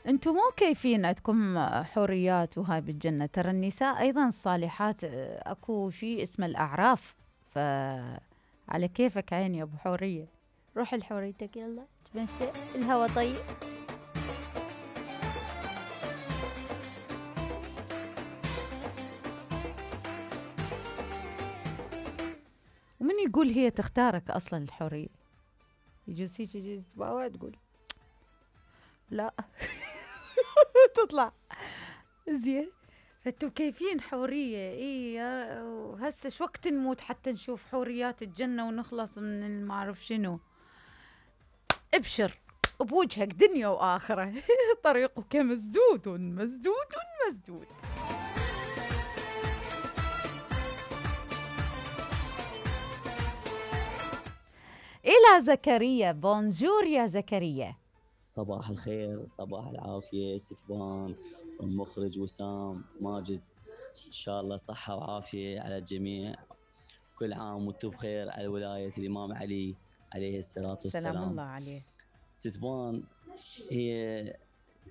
انتم مو كيفين عندكم حوريات وهاي بالجنة، ترى النساء ايضا الصالحات اكو شيء اسمه الاعراف، على كيفك عيني يا ابو حورية، روح لحوريتك يلا تمشي الهوا طيب. ومن يقول هي تختارك اصلا الحورية، يجوز هيك يجوز تباوع تقول لا تطلع زين. فانتو كيفين حورية اي، وهسه شو وقت نموت حتى نشوف حوريات الجنة ونخلص من المعرف شنو. ابشر بوجهك دنيا وآخرة طريقك مسدود مسدود مسدود. إلى زكريا، بونجور يا زكريا. صباح الخير، صباح العافية ستبان والمخرج وسام ماجد، إن شاء الله صحة وعافية على الجميع. كل عام وانتم بخير على ولاية الإمام علي عليه الصلاة والسلام. سلام الله عليه. ستبان هي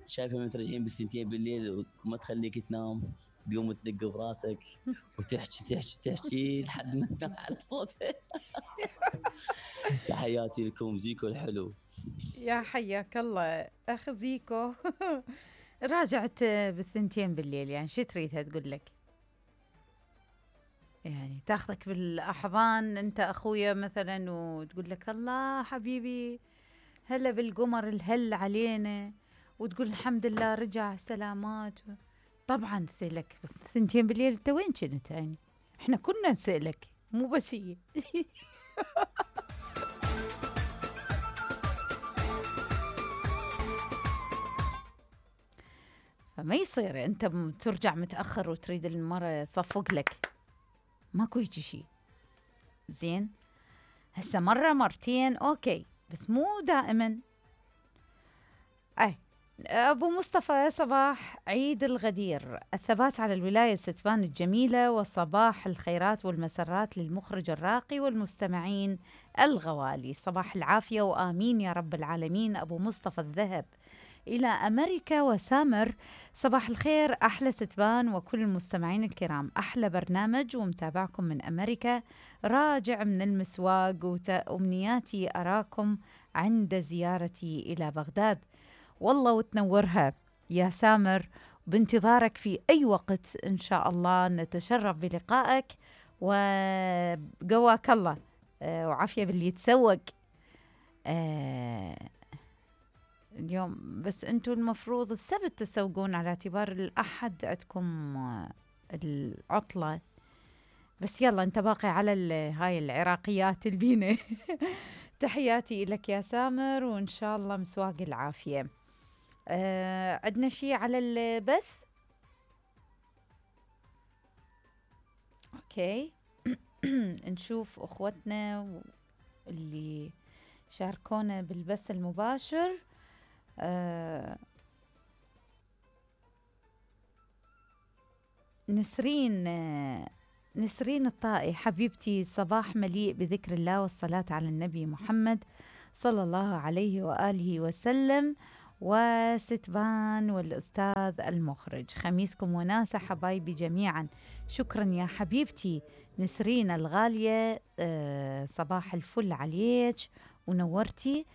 شايفة من ترجعين بالثنتين بالليل وما تخليك تنام، تقوم تدق براسك وتحكي تحكي تحكي لحد ما تنام على صوتها. تحياتي لكم، زيكو الحلو. يا حياك الله اخ زيكو. راجعت بالثنتين بالليل، يعني شو تريدها تقول لك؟ يعني تاخذك بالاحضان انت اخويا مثلا وتقول لك الله حبيبي هلا بالقمر الهل علينا، وتقول الحمد لله رجع سلامات. طبعا نسألك بالثنتين بالليل انت وين كنت؟ يعني احنا كنا نسألك مو بس هي. فما يصير انت ترجع متأخر وتريد المرة تصفق لك، ماكو هيجي شي. زين هسه مرة مرتين اوكي بس مو دائما. أبو مصطفى صباح عيد الغدير، الثبات على الولاية ستبان الجميلة، وصباح الخيرات والمسرات للمخرج الراقي والمستمعين الغوالي. صباح العافية وآمين يا رب العالمين. أبو مصطفى الذهب إلى أمريكا وسامر، صباح الخير أحلى ستبان وكل المستمعين الكرام، أحلى برنامج ومتابعكم من أمريكا، راجع من المسواق وأمنياتي أراكم عند زيارتي إلى بغداد. والله وتنورها يا سامر، بانتظارك في أي وقت إن شاء الله، نتشرف بلقائك وقواك الله وعافية باللي يتسوق. اليوم بس أنتوا المفروض السبت تسوقون على اعتبار الأحد عندكم العطلة، بس يلا أنت باقي على هاي العراقيات البينة. تحياتي لك يا سامر وإن شاء الله مسواق العافية. عندنا شيء على البث؟ اوكي. نشوف اخوتنا اللي شاركونا بالبث المباشر. نسرين الطائي، حبيبتي صباح مليء بذكر الله والصلاة على النبي محمد صلى الله عليه وآله وسلم، وستبان والأستاذ المخرج، خميسكم وناسة حبايبي جميعا. شكرا يا حبيبتي نسرين الغالية، صباح الفل عليك ونورتي.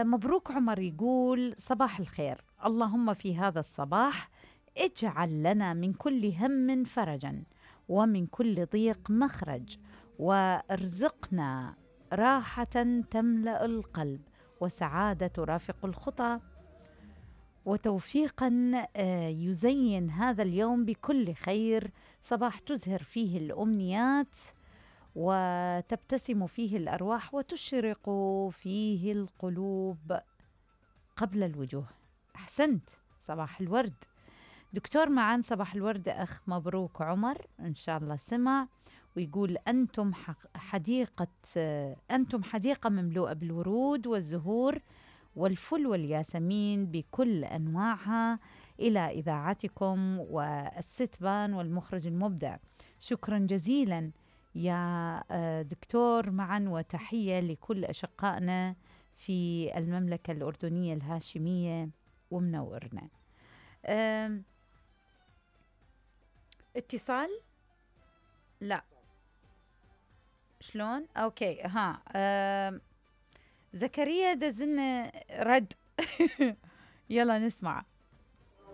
مبروك عمر يقول صباح الخير، اللهم في هذا الصباح اجعل لنا من كل هم فرجا ومن كل ضيق مخرج، وارزقنا راحة تملأ القلب وسعادة ترافق الخطى، وتوفيقا يزين هذا اليوم بكل خير، صباح تزهر فيه الأمنيات وتبتسم فيه الأرواح وتشرق فيه القلوب قبل الوجوه. أحسنت، صباح الورد دكتور معان، صباح الورد أخ مبروك عمر، إن شاء الله سمع ويقول أنتم حديقة مملوءة بالورود والزهور والفل والياسمين بكل أنواعها، إلى إذاعتكم والستبان والمخرج المبدع. شكرا جزيلا يا دكتور معا، وتحية لكل أشقائنا في المملكة الأردنية الهاشمية ومنورنا. اتصال؟ لا، شلون؟ اوكي، ها. زكريا دزلنا رد. يلا نسمع.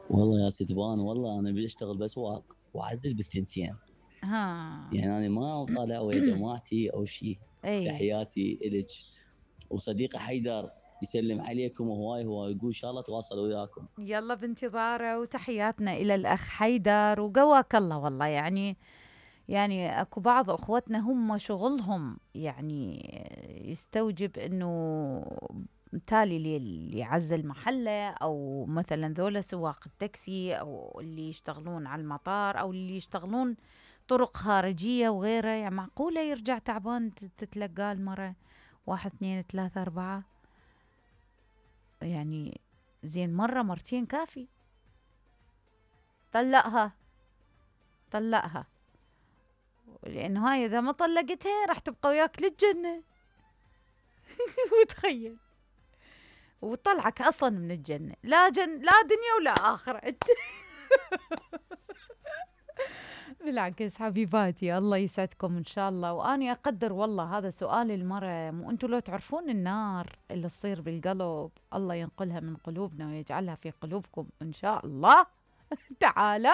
والله يا ستبان، والله انا بشتغل بسواق واعزل بالثنتين. يعني انا ما طالع ويا جماعتي او شيء. تحياتي الك. وصديقي حيدر يسلم عليكم هواي يقول ان شاء الله تواصل وياكم. يلا بانتظاره، وتحياتنا الى الاخ حيدر، وقواك الله. والله يعني اكو بعض اخوتنا هم شغلهم يعني يستوجب انه تالي اللي يعزل محله، او مثلا ذولا سواق التاكسي، او اللي يشتغلون على المطار، او اللي يشتغلون طرق خارجيه وغيره. يعني معقوله يرجع تعبان تتلقاه المره 1 2 3 4؟ يعني زين مرة مرتين كافي. طلقها لأنه هاي إذا ما طلقتها راح تبقى وياك للجنة. وتخيل، وطلعك أصلا من الجنة، لا دنيا ولا آخرة. بالعكس حبيباتي، الله يسعدكم إن شاء الله. وأنا أقدر والله هذا سؤال المرة، مو أنتوا لو تعرفون النار اللي تصير بالقلب، الله ينقلها من قلوبنا ويجعلها في قلوبكم إن شاء الله تعالى.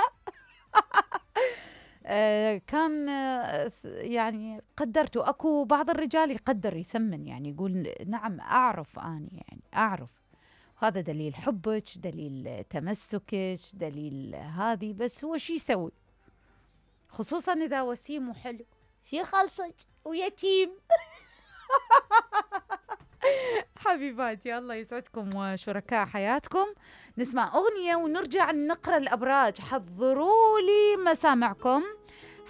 كان يعني قدرته. أكو بعض الرجال يقدر يثمن، يعني يقول نعم أعرف، أنا يعني أعرف هذا دليل حبك، دليل تمسكك، دليل هذه. بس هو شي يسوي؟ خصوصا إذا وسيم وحلو، شي خلصك ويتيم. حبيباتي الله يسعدكم وشركاء حياتكم. نسمع أغنية ونرجع نقرأ الأبراج. حضروا لي مسامعكم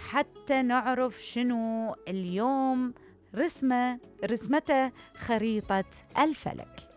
حتى نعرف شنو اليوم رسمته خريطة الفلك.